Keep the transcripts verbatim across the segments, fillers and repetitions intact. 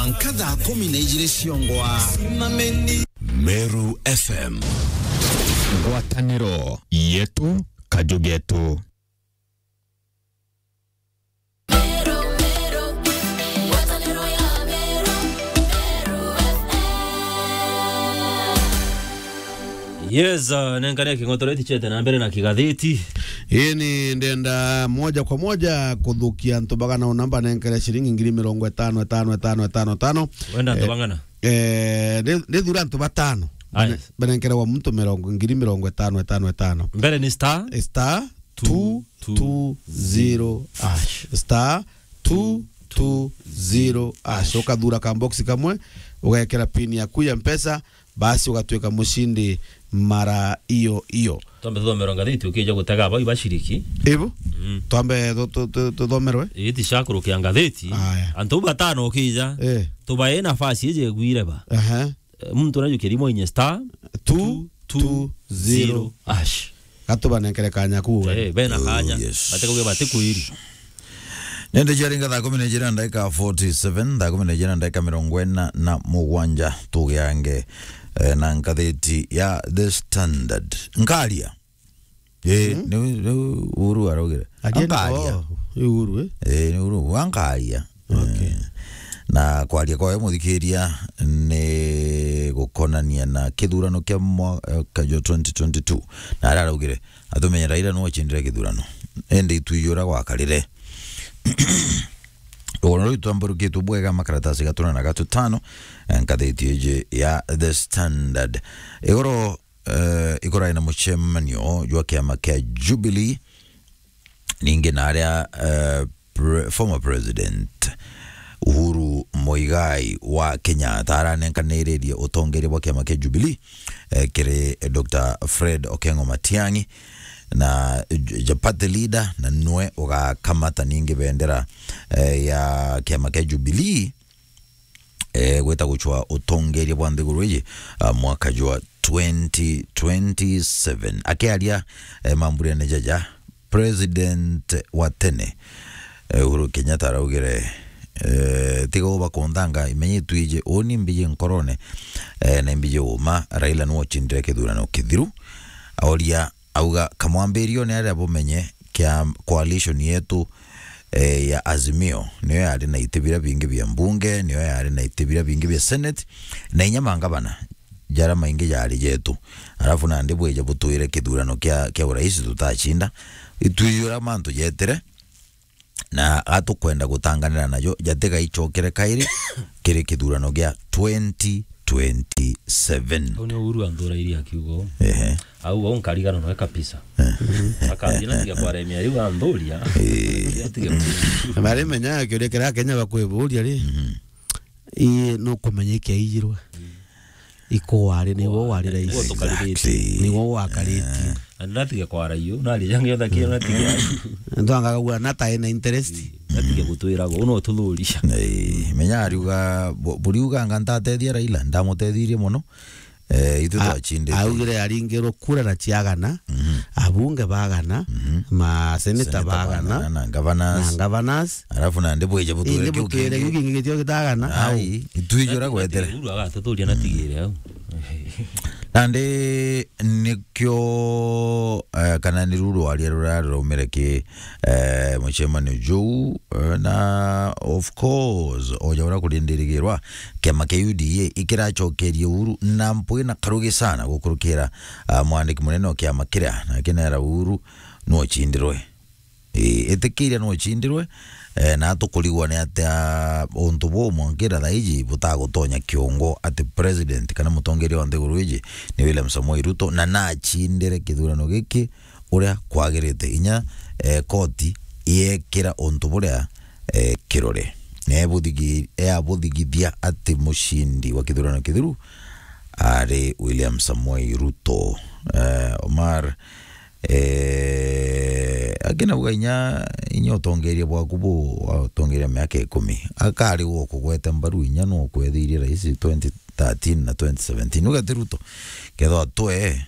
Nka thaa kumi na ijiri ciongwa. Meru F M. Ngwataniro yetu, kaju getu. Yes, uh, nenkane king'otoreti chete na mbere na kigatheti. Ii ni ndenda moja kwa moja kuthukia antu bagana una mbanenkere ciringi ngiri mirongo itano, itano, itano, itano, itano. Wenda antu Eh, bang'ana? Eh, ni, ni thura antu batano. Aya. Bane-, banenkere wa muntu mirongo, ngiri mirongo itano, itano, itano. Mbere ni star? Eh, star two two zero hash. Star two two zero hash. Ukathura ka box kamwe, ugekera pin yaku ya Mpesa, basi ugatwika mushindi mara iyo iyo. Twambe tuthomerwe ngatheti ukija gutega abo ibashiriki. Ibu? Mm. Twambe tu-, tu-, tu-, tuthomerwe? Iti cia kurukia ngatheti. Aya. Antu batano ukija. Eh. Tubae nafasi ije gwire ba. Aha. Eh, muntu najukiria moinye star two two zero hash. Gatubanenkere kanya kuuga. Eh, bena kanya. Oh, yes. Batikauge batikwiri. Nende ciaringa thaa kumi na ijiri na ndagika forty seven, thaa kumi na ijiri na ndagika mirongo ina na mugwanja, tugiange, eh, na ngatheti ya The Standard. Nkaria. Eh, ni, ni Uhuru araugire. Aje ni, ankaria. Oh, ni Uhuru, eh? Eh, ni Uhuru, ankaria. Okay. Eh, na kwaria kwawe, muthikiria, ni gukonania na kithurano kia mwaka jwa twenty twenty-two. Na aria araugire, atumenye Raila niwe wacindire kithurano. Indi itwijura gwakarire. Ugoro ruu twamburukitwe bwega makaratasi gatuna na gatutano, eh, ngatheti iji ya The Standard. Igoro, eh, ikurai na mucemanio jwa kiama kia Jubilee, ningi na aria, eh, pre-, former president Uhuru Muigai wa Kenyatta aranenkaniririe utongeria bwa kiama kia Jubilee, eh, kiri Doctor Fred Okengo Matiang'i na j-, ja party leader, na nwe ugakamata ningi bendera, eh, ya kiama kia Jubilee, eh, gwita gucwa utongeria bwa nthiguru iji, ah, mwaka jwa twenty twenty-seven. Akiaria, eh, mamburene jaja, president wa tene, eh, Uhuru Kenyatta araugire, eh, tiga uba kunthanga, imenye itwiji, uni mbiji nkorone, eh, na imbiji uma, Raila niwe uchindire kithurano kithiru. Auria, auga, kamwambirione aria bumenye kia coalition yetu, eh, ya Azimio, niyo yari na iti biria bingi bia mbunge, niyo yari na iti biria bingi bia senate, na inya mangavana jaria maingi jari jetu. Alafu nandi bwije butwire kithurano kia, kia urais tutacinda. Itwijura mantu jetire, na atukwenda gutanganira najo, jatigaichokere kairi kiri kithurano gia twenty twenty-seven. Au ni Uhuru anthurairie akiuga uu. Ehe. Auga uu nkarigana nawe kabisa. Eh. Akathie na tiga kwaremia riu anthuria. Eh. Atige. Mari menya kiuria kiria Kenya bakwiburia ri, mhm, ii nukumenya ikiaijirwe. Iku wari, niwe wari rais. Niwe tukariritie. Exactly. Niwe wakaritie. Eh. Na ndatige kwara iyo, nari jangi otha kio natige. Ntwanga kugua na tai na interest. Natige gutwira go, no tuthuria. Eh, menya ariuga, bu-, buriuga anga ntatethia Raila, ndamutethirie muno. Eh, ithu a-, twachindite. Augire aringirwo kura na ciagana, mhm, abunge bagana, mhm, maseneta bagana, na governors. Na governors. Alafu nandi bwije butwire kiu kingi. Indi butwire kiu kingi gitio gitagana. Ai, itwijura gwetere. Uhuru agatuthuria na tigire au. Nandi nikio, eh, kana ni ruru rwaria ruria ruraumire ki, eh, mucemanio juu, eh, na of course, oja uria kurindirigirwa, kiama kia U D A ikiracokerie Uhuru na mpwi na karugi sana gukurukira, ah, mwandiki munene wa kiama kiria, na kinera Uhuru nuocindirwe. Ii, itikiria nuocindirwe, eh, na tukurigwa ni atia untu buu mwankira thaa iji butagutonya kiongo ati president kana mutongeria wa nthiguru iji ni William Samoei Ruto, na nacindire kithurano giki uria kwagirite. Inya, eh, koti yekira untu buria, eh, kirore. Na ebuthigi-, eabuthigithia ati mucindi wa kithurano kithiru ari William Samoei Ruto. Eh, Omar, Eh, akina uga inya, inya utongeria bwaku bu, watongeria miaka ikumi. Akari gwo kugweta mbaru inya no kwethirie rais twenty thirteen na twenty seventeen. Uga ti Ruto, kethwa twe,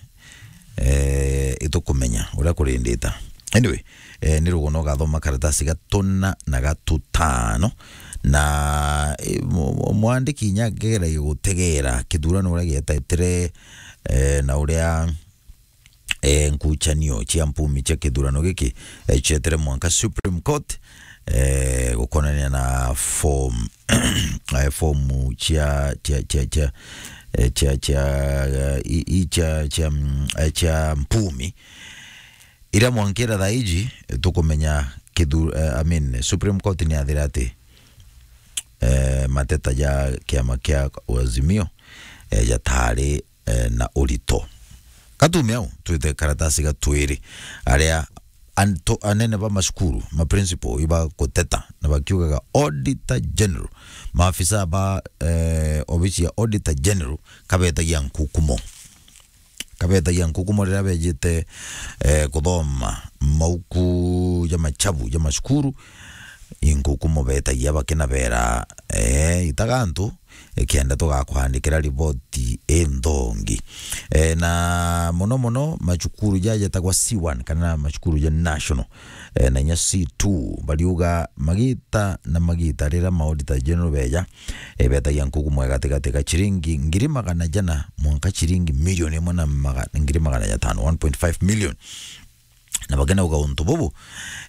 eh, itukumenya uria kurindita. Anyway, eh, ni rugono gathoma karatasi gatuna na gatutano, Na, eh, mu-, mu-, mwandiki inya akegeragia gutegera kithurano uria gietetire, eh, na uria, eh, nkuchanio cia mpumi cia kithurano giki, eh, cietire mwanka Supreme Court, eh, gukonania na form, eh, form cia, cia, cia, cia, eh, cia, cia, eh, i, i cia, cia, mm, eh, cia mpumi. Iria mwankira thaa iji, tukumenya kithu-, eh, I mean, Supreme Court ni yathire ati, eh, mateta ja kiama kia Azimio, eh, jatari, eh, na urito. Katume au, twite karatasi ga twiri, aria anto-, anene ba macukuru, ma principal, iba guteta, na bakiugaga Auditor General, maafisa ba, eh, obisi ya Auditor General, kabetagia nkukumo. Kabetagia nkukumo riria bejite, eh, kuthoma mauku ja machabu ja macukuru, inkukumo betagia bakina bera, eh, itaga antu, eh, kenda tugakwandikira riboti inthongi. Eh, na mono mono macukuru ja jetagwa C one kana macukuru ja national, eh, na inya C two, bariuga magita na magita riria ma Auditor General beja, eh, betagia nkukumo ya gatigati ga ciringi ngiri magana jana mwanka ciringi milioni imwe na maga-, ngiri magana jatano, one point five million. Na bakenauga untu bubu,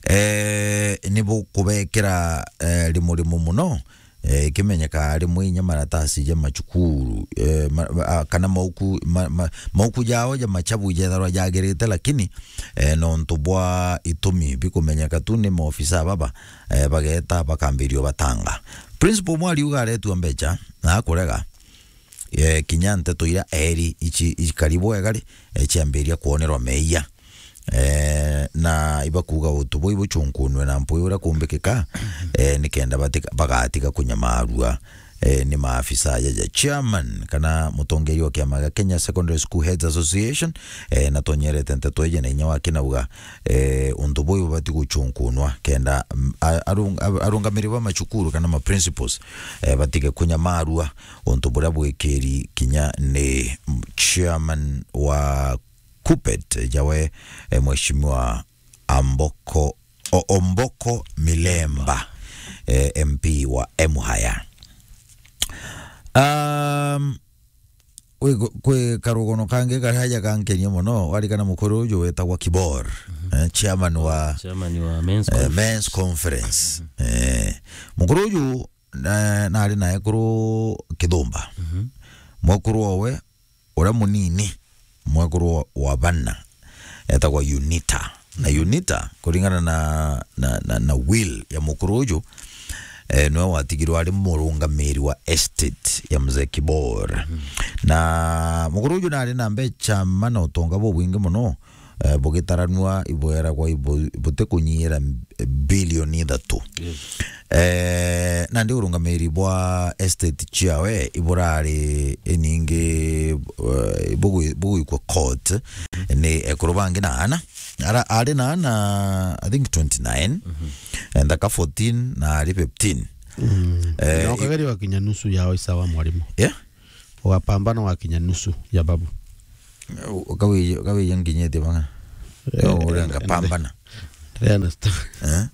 eh, ni bukubekera, eh, rimurimu muno, eh, ikimenyeka rimwe inya maratasi ja macukuru, eh, ma-, ma-, a, kana mauku, ma-, ma-, mauku jao ja machabu jetharwa jagirite, lakini, eh, nontu bwa itumi bikumenyeka tu ni maofisa baba, eh, bageta bakambirio batanga. Principal umwe ariuga aretua mbecha na akurega, eh, kinya nteto iria eri ici, ikari bwega ri, eh, ciambiria kwonerwa meeyia. Eh, na ibakuuga utu buu ibuchunkunwe na mpwi uria kumbikika, eh, nikenda batika-, bagatiga kunyamaarua, eh, ni maafisa jaja. Chairman kana mutongeria wa kiama gia Kenya Secondary School Heads Association, eh, natonyerete nteto iji na inya wake nauga, eh, untu buu ibubati guchunkunwa kenda, mm, a-, arung-, a-, arungamiri ba macukuru kana ma principals, eh, batige kunyamaarua untu buria bwikiri kinya ni chairman wa KUPPET, jawe, eh, Mheshimiwa Amboko, O-, Omboko Milemba, eh, M P wa Emuhaya. Um, kwi, kwi karugono kangi karia aja kankenia mono, warikana mukuru uju wetagwa Kibor, eh, chairman wa, chairman wa men's, eh, conference, men's conference. Eh, mukuru uju, eh, nari na ekuru Kithumba. Mhm. Mwekuru owe uria munini, mwekuru wa, wa bana, etagwa Unita. Na Unita, kuringana na, na, na, na will ya mukuru uju, eh, niwe watigirwe ari murungamiri wa estate ya Mzee Kibor. Mhm. Na mukuru uju nari na mbecha ma na utonga bubwingi mono, eh, bugitaranua ibweragwa ibu-, butikunyira bilioni ithatu. Yes. Eh, nandi urungamiri bwa estate ciawe iburari iningi, eh, bugwi-, bugwikwa court, mhm, ni ekuru bangi na ana. Ara-, ari na ana, I think, twenty-nine, mhm, eh, nthaka fourteen na ari fifteen. Mm. Eh, na ukageria wakinya nusu yao isawa, mwalimu. Yeah? Ugapambana wakinya nusu ya babu. Ukawi-, ukawiya nginyite banga. Eh, no, eh, urenga pambana. Endelea na story. Eh?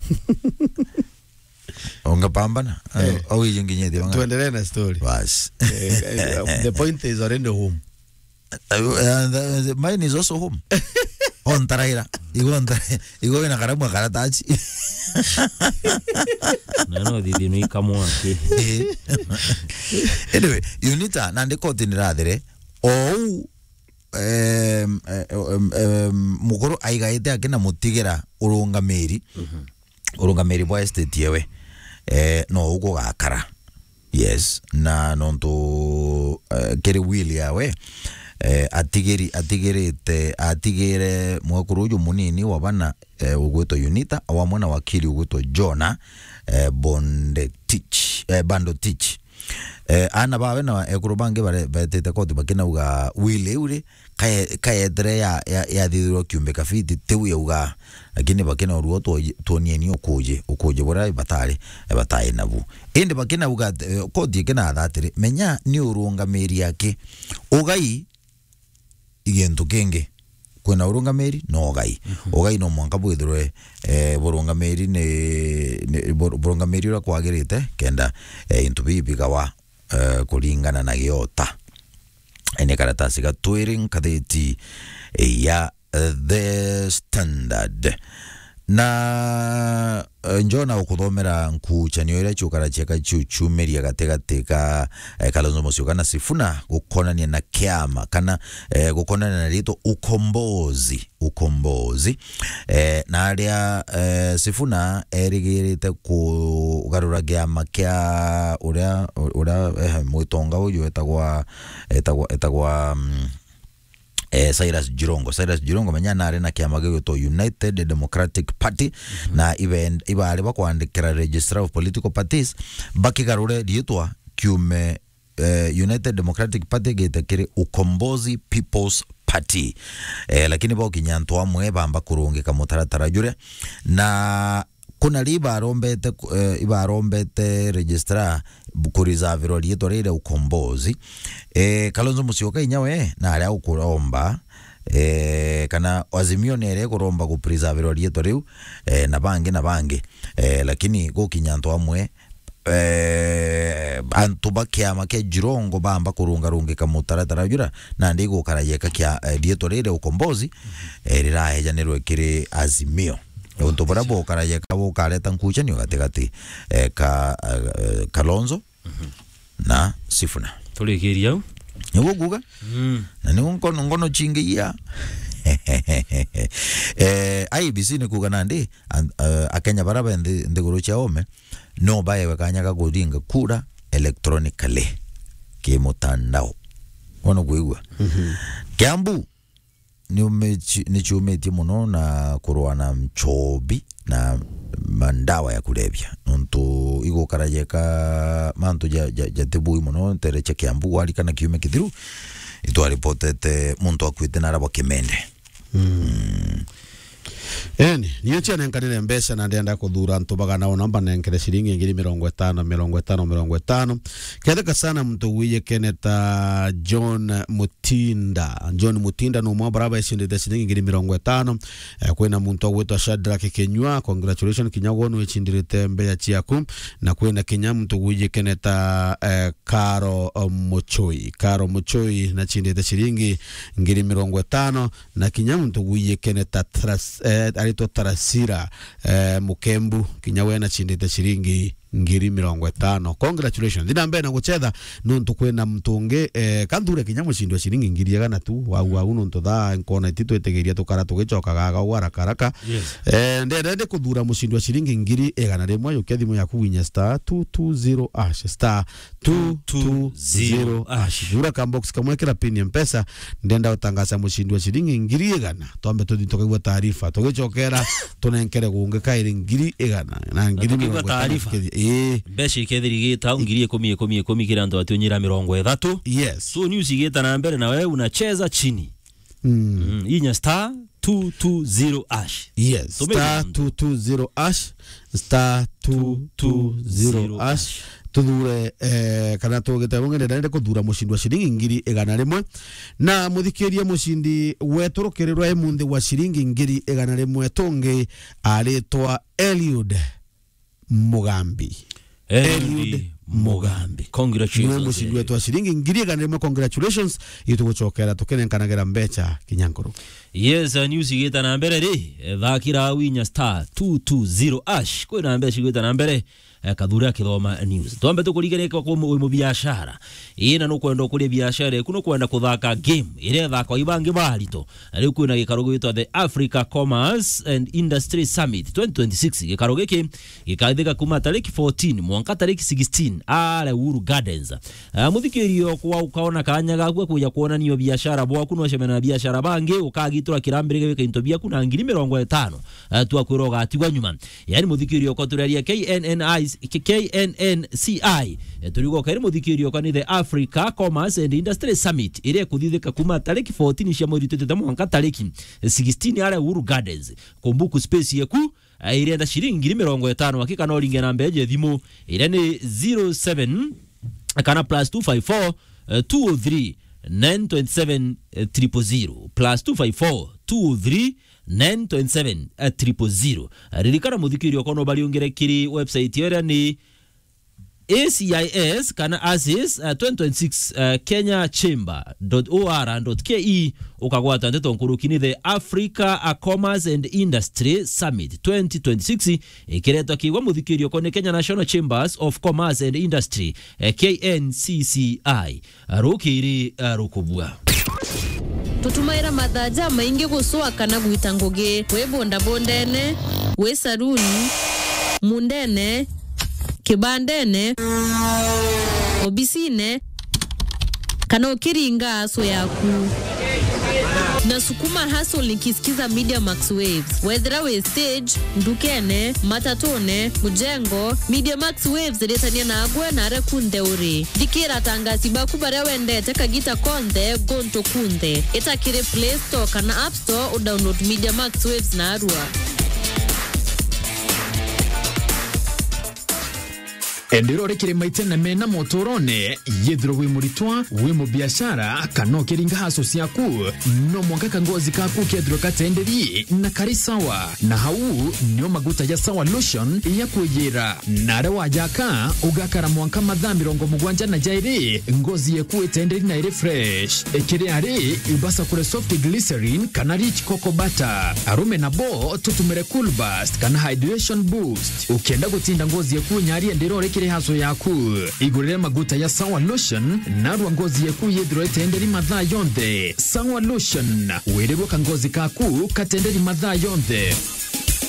Ungepambana? Eh. Au hiyo nginyete banga. Tuendelee na story. Bas. Eh, eh, the point is already home. Uh, uh, the, the, mine is also home. Ontaraira. Igo ontara-, igo wina karamu ya karatachi. Na no thithi no ikamwake. Eh. Anyway, Unita, nandi koti ni rathire. Ou, em, eh, em, em, mukuru aigaite akina mutigira urungamiri. Mhm. Urungamiri bwa estate yewe, eh, no ugugakara. Yes, na nontu, eh, kiri will yawe, eh, atigiri-, atigirite, atigire mwekuru uju munini wa bana, eh, ugwitwa Unita, o amwe na wakili ugwitwa Jonah, eh, Bondetich, eh, Bandotich. Eh, ana bawe na ekuru bangi bare-, betite koti bakinauga will iu ri, kaye-, kayetere ya, ya, yathithirwa kiumbe kafiti, tiu yauga, lakini bakinorua twoji-, twonieni ukuji, ukuji buria batari, batari nabu. Indi bakinauga ati, eh, koti ikinatha atiri, menya ni urungamiri aki, ugai i gintu kingi. kwina urungamiri na ugai. Mhm. Ugai no mwanka bwithirwe, eh, burungamiri ni, ni bur-, burungamiri uria kwagirite, kenda, eh, into biu bigawa, eh, kuringana na giota. Ni karatasi ga twiri nkathiti ya, eh, The Standard. Na, eh, njona ukuthomera nkuchanio iria ciukara cieka ciu ciumiria gatigati ka, eh, Kalonzo Musyoka na Sifuna gukonania na kiama kana, eh, gukonania na ritwa Ukombozi, Ukombozi. Eh, na aria, eh, Sifuna erigirite kugarura kiama kia uria, uria, eh, mwitonga uyu etagwa, etagwa, etagwa, mm, eh, Cyrus Jirongo. Cyrus Jirongo, menya, nari na kiama gigwitwa United Democratic Party, mhm, na ibe-, ibari bakwandikira Registrar of Political Parties, bakigarure riitwa kiume, eh, United Democratic Party gite kiri Ukombozi People's Party. Eh, lakini bokinya antu amwe bamba kurungika mutaratara juria, na kuna ri ibarombete, eh, ibarombete registrar bu-, kureservirwa riitwa riri ria Ukombozi. Eh, Kalonzo Musyoka inya we nari agukuromba, eh, kana Azimio ni iri kuromba kupreservirwa riitwa riu, eh, na bangi na bangi. Eh, lakini gukinya antu amwe, eh, antu ba kiama kia Jirongo bamba kurungarungika mutaratara jura, nandi igukara yeka kia, eh, riitwa riri ria Ukombozi, eh, riraejanirwe kiri Azimio. Untu buria bukara yeka bukareta nkuchanio gatigati, eh, ka, eh, Kalonzo, mhm, na Sifuna. Turikiria au. Niguo kuuga? Mm. Na niguo nkono, ngono chingiia. Eh, I E B C ni kuuga nandi, an-, eh, Akenya bara be nthi-, nthiguru cia ome, no baewe kanya ga kuringa kura electronically, kimutandao. Wono kwigua? Mhm. Kiambu, ni umichi-, ni ciumitie muno na kurwa na nchobi na mandawa ya kulevya. Nontu igukara yeka mantu ja, ja, jatibui muno ntere cia Kiambu, warikana kiumia kithiru, itwaripotete muntu akuite na arabwa Kimende. Mm. Mm. Eni, niyo cianenkanire mbeca na ndenda kuthura antu bagana ona mbanenkere ciringi ngiri mirongo itano, mirongo itano, mirongo itano. Ketheka sana muntu wiye keneta John Mutinda. John Mutinda no mwa baraba icindite ciringi ngiri mirongo itano. Eh, kwina muntu agwitwa Shadrack Kinyua, congratulations kinya gwo no icindirite mbeca ciaku. Na kwina kinya muntu wiye keneta, eh, Karo, eh, Muchoi. Karo Muchoi na cindite ciringi ngiri mirongo itano. Na kinya muntu gwiyikene ta Tras-, eh, aritwa Tarasira, eh, Mukembu, kinya we na cindite ciringi ngiri mirongo itano. Congratulations. Thina mbere na gucetha nontu kwina muntu ungi, eh, kanthure kinya mucindi wa ciringi ngiri igana tu. Wau, mm, wau nontu thaa nkona iti twitigiria tukara tugicokaga aga uu haraka haraka. Yes. Eh, ndenda ndi kuthura mucindi wa ciringi ngiri igana rimwe, yukia thimu yaku winya star two two zero hash, star two two zero hash. Thura ka box kamwe, kira pin ya Mpesa, ndenda gutangaza mucindi wa ciringi ngiri igana. Twambe tuthi tukaigua taarifa. Tugicokera, tunenkere gungi kairi ngiri igana na ngiri mirongo itano. Ii. Mbeca ikethirigita au ngiri ikumi, ikumi, ikumi kira antu batiunyira mirongo ithatu. Yes. So news igita na mbere na wewe unacheza chini. Mm. Mm, inya star two two zero hash. Yes, tumira star two two zero hash, star two two zero hash. Tuthure, eh, kana tugite bunge ndenda kuthura mucindi wa ciringi ngiri igana rimwe. Na muthikirie mucindi wetu rukirirwa imunthi wa ciringi ngiri igana rimwe tungi aritwa Eliud Mugambi. Eliud Mugambi. Congratulations. Niwe mucindi wetu wa ciringi ngiri igana rimwe. Congratulations. Itugucokera tukinenkanagira mbeca kinya nkuru. Yes, uh, news igita na mbere ri, eh, thakira winya star two two zero hash. Kwina mbeca igita na mbere, eh, kathura akithoma news. Twambe tukurigane kwa mu-, mubiashara. Ii, na nukwenda ukuria biashara eku, nukwenda kuthaka game iria ithakwa ibangi barito. Na riu kwina gikaro gwitwa the Africa Commerce and Industry Summit twenty twenty-six. Gikaro giki gikathika kuma tariki fourteen mwanka tariki sixteen aria Uhuru Gardens. Ah, muthikirio kwa ukaona kanya gaku ga kuja kuonania biashara bwaku, no ucemania na biashara bangi, ukagitura kirambirige wika into biaku na ngiri mirongo itano. Ah, twakwira ugatigwa nyuma. Yani muthikirio kwa turaria K N N I, K N N C I. Eh, turigo kairi muthikirio kwa ni the Africa Commerce and Industry Summit, iria ikuthithika kuma tariki fourteen cia mweri twitite mwanka tariki sixteen aria Uhuru Gardens. Kumbuku space yeku, eh, irenda ciringi ngiri mirongo itano, hakika no ringe namba ya thimu, iria ni zero seven kana plus two five four, eh, two oh three, nine twenty seven triple zero, plus two five four two three nine twenty seven triple zero. Ririkana muthikiria ukono bariungire kiri website yeria ni A C I S kana ASIS, uh, twenty twenty-six, uh, Kenya Chamber dot O R dot K E, ukagwata ndeto nkuruki ni the Africa, uh, Commerce and Industry Summit twenty twenty-six, ikiretwa kiigwa muthikirio ko ni Kenya National Chambers of Commerce and Industry, eh, K N C C I, rukiri, eh, rukubua. Tutumaira mathaa jamaingi gucwa kana gwita ngugi, wi bondabondene, wi saruni, mundene, kibandene, obisine, kana ukiringa aso yaku. Na sukuma hustle nikisikiza Media Max Waves. Wethira wi stage, ndukene, matatune, mujengo, Media Max Waves ritania nagwe na aria kunthe uri. Thikira atangasi baku baria wendete kagita konthe, guntu kunthe. Ita kiri Play Store kana App Store u download Media Max Waves narua. Endera uri kiri maitene mena motorone, yethirwa wi muritwa, wi mubiashara, kana ukiringa haso ciaku, no mwanka kangozi kaku kethirwe katenderi na kari sawa. Na hau nio maguta ja Sawa Lotion ya kwiyira. Na aria wajaka, ugakara mwanka mathaa mirongo mugwanja na jairi, ngozi yeku itenderi na iri fresh. Ikiri ari, ibasa kure soft glycerin kana rich cocoa butter. Arume nabo tutumire Cool Burst kana Hydration Boost. Ukienda gutinda ngozi yeku nyari endera uri kiri haso yaku. Igurire maguta ya Sawa Lotion, narua ngozi yeku yethirwe itenderi mathaa yonthe. Sawa Lotion, wirirwe kangozi kaku katenderi mathaa yonthe.